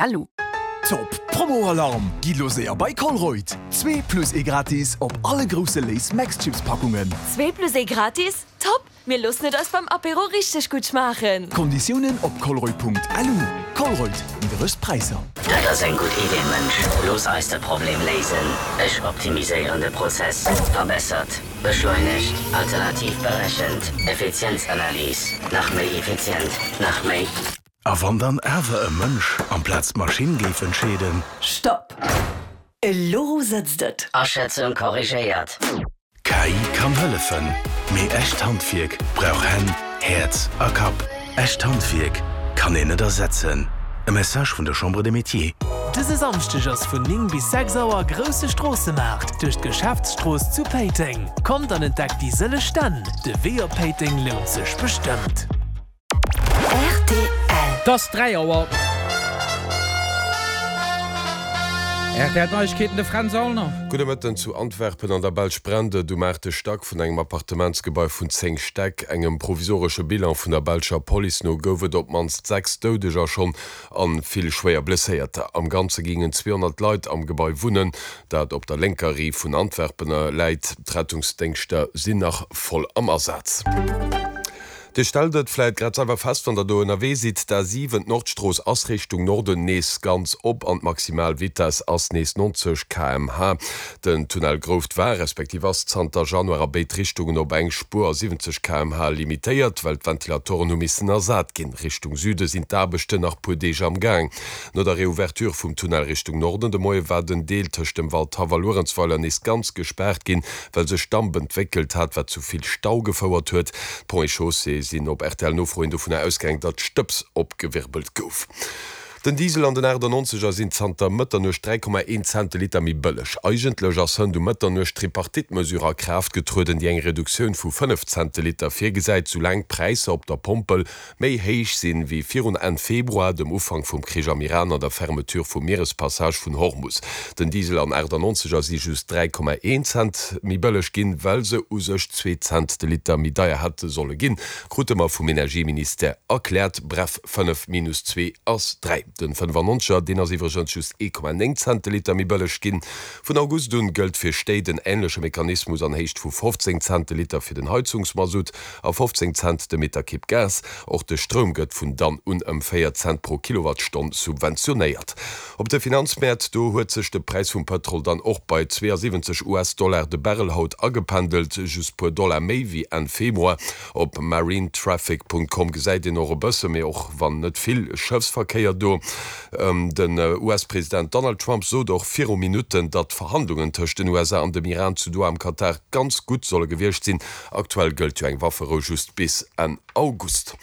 Lu. Top Promo-Alarm! Gitt lo séier bei Colruyt! Zwee plus ee gratis op alle grousse Lay's Max Chips Packungen. Zwee plus ee gratis? Top! Mir loossen et eis beim Apéro richteg gutt schmaachen! Konditiounen op colruyt.lu. Colruyt, nidderegst Präisser. Dat ass eng gutt Idee, Mënsch. Looss eis de Problem léisen. Ech optimiséieren de Prozess. Verbessert, beschleunegt, alternativ berechent, Effizienzanalys, nach méi effizient, nach méi. A wann dann awer e Mënsch amplaz d'Maschinn géif entscheeden? Stopp! Elo sëtzt et! Aschätzung korrigéiert. KI kann hëllefen, mee echt Handwierk brauch Hänn, Häerz a Kapp. Echt Handwierk kann een net ersetzen. E Message vun der Chambre des Métiers. Dëse Samschdeg ass vun 9 bis 6 Auer grousse Stroossemaart duerch d'Geschäftsstrooss zu Péiteng. Kommt an entdeckt déi sëlleg Stänn. De Wee op Péiteng lount sech bestëmmt. Rtl. Et ass 3 Auer. Rtl Neiegkeeten, de Fränz Aulner. Gudde Mëtten. Zu Antwerpen an der Belsch brennt et um aachte Stack vun engem Appartementsgebai vun 10 Stäck. Engem provisoresche Bilan vun der belscher Police no gouf et op d'mannst 6 Doudeger schonn an vill schwéier Blesséierter. Am Ganze gingen 200 Leit am Gebai wunnen, dat op der lénker Riif vun Antwerpen läit. D'Rettungsdéngschter sinn nach voll am Asaz. Dir stellt et vläit grad selwer fest, wann der do ënnerwee sidd, d'A7, d'Nordstrooss, ass Richtung Norden nees ganz op an d'maximal Vitess ass nees 90 km/h. Den Tunnel Grouft war, respektiv ass zanter Januar a béid Richtungen op eng Spuer a 70 km/h limitéiert, well d'Ventilatoren hu missen ersat ginn. Richtung Süde sinn d'Aarbechten nach puer Deeg am Gaang. No der Reouverture vum Tunnel Richtung Norden de Moie war den Deel tëscht dem Waldhaff a Luerenzweiler nees ganz gespaart ginn, well sech Damp entwéckelt hat, wat zu vill Stau gefouert huet. D'Ponts et Chaussées sinn op RTL-Nofro hin dovunner ausgaang, datt Stëbs opgewirbelt gouf. Den Diesel an den 98 er sinn zanter Mëtternuecht 3,1 Cent de Liter méi bëlleg. Eigentlech ass hënt um Mëtternuecht d'Tripartite-Mesure a Kraaft getrueden, déi eng Reduktioun vu 5 Cent de Liter virgesäit, soulaang d'Präisser op der Pompel méi héich sinn wéi virun Enn Februar, dem Ufank vum Krich am Iran an der Fermeture vum Mierespassage vun Hormus. Den Diesel an 98 er si just 3,1 Cent méi bëlleg ginn, well se u sech zwee Cent de Liter méi deier hätte solle ginn, krute mer vum Energieministère erkläert. Bref, 5 minus 2 ass 3. Den 95 er, deen ass iwwregens just 1,9 Cent de Liter méi bëlleg ginn. Vun August un gëllt fir Stéit en änleche Mechanismus an Héicht vu 15 Cent de Liter fir den Heizungsmasutt. A 15 Cent de Meterkibb Gas. Och de Stroum gëtt vun dann un ëm 4 Cent pro Kilowattstonn subventionéiert. Op de Finanzmäert, do huet sech de Präis vum Pëtrol dann och bei 72 US-Dollar de Barrel haut agependelt, just puer Dollar méi wéi Enn Februar. Op marinetraffic.com gesäit een och e bësse méi, och wann net vill, Schëffsverkéier do. Den US-President Donald Trump sot och viru Minutten, datt d'Verhandlungen tëscht den USA an dem Iran zu Doha am Katar ganz gutt solle gewiescht sinn. Aktuell gëllt jo eng Wafferou just bis Enn August.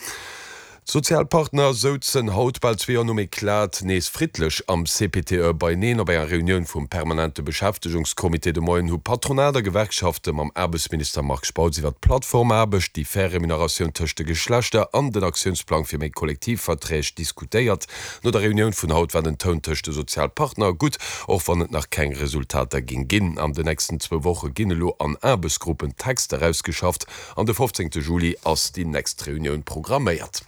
D'Sozialpartner souzen haut, bal zwee Joer nom Eclat, nees friddlech am CPTE beieneen. Op enger Reunioun vum permanente Beschäftegungscomité de Moien hu Patronat a Gewerkschafte mam Aarbechtsminister Marc Spautz iwwer d'Plattformaarbecht, déi fair Remuneratioun tëscht de Geschlechter an den Aktiounsplang fir méi Kollektivverträg diskutéiert. No der Reunioun vun haut war den Toun tëscht de Sozialpartner gutt, och wann et nach keng Resultater géing ginn. An den nächsten zwou Woche ginn elo an Aarbechtsgruppen Texter ausgeschafft an de 15 Juli ass déi nächst Reunioun programméiert.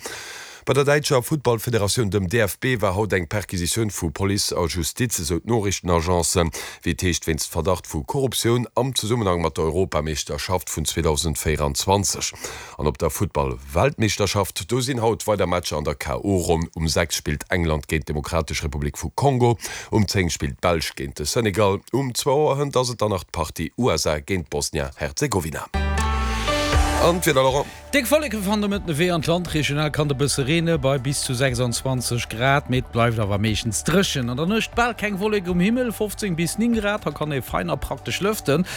Bei der däitscher Futtballfederatioun, dem DFB, war haut eng Perquisitioun vu Police a Justiz, esou d'Noriichtenagence. Wéi et heescht wéinst Verdacht vu Korruptioun am Zesummenhang mat der Europameeschterschaft vun 2024. An op der Futtball-Weltmeeschterschaft, do sinn haut weider Matcher an der KO-Ronn. Um 6 spillt England géint d'Demokratesch Republik vu Kongo, um 10 spillt d'Belsch géint de Senegal, um zwou Auer hënt ass et dann nach d'Partie USA géint Bosnia-Herzegowina. An d'Wieder, Laurent? Déck Wolleke fannen de Mëtten de Wee an d'Land. Regional kann et e bësse reene bei bis zu 26 Grad, mee et bleift awer meeschtens dréchen. An der Nuecht bal keng Wollek um Himmel, 15 bis 9 Grad, da kann ee fein a praktesch lëften.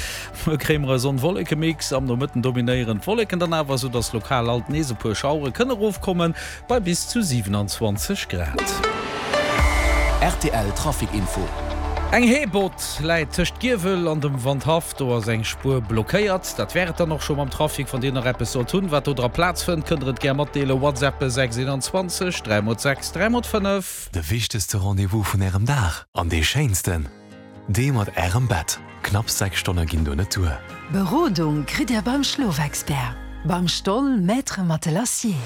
Muer kréie mer e Sonn-Wolleke-Mix, am Nomëtten dominéieren d'Wolleken dann awer, soudass lokal alt nees e puer Schauere kënne rofkommen, bei bis zu 27 Grad. Rtl Trafic Info. Eng Heebott läit tëscht Giewel an dem Wandhaff, do ass eng Spuer blockéiert. Dat wär et dann och scho mam Trafic. Wann Dir nach eppes sollt hunn, wat do dra Plaz fënnt, kënnt der et gär matdeelen. WhatsAppe 6 21 3 mol 6 3 mol 5. De wichtegste Rendez-vous vun Ärem Dag an dee schéinsten. Dee mat Ärem Bett. Knapps 6 Stonne ginn do net duer. Berodung kritt Dir beim Schlofexpert, beim Stoll Maître Matelassier.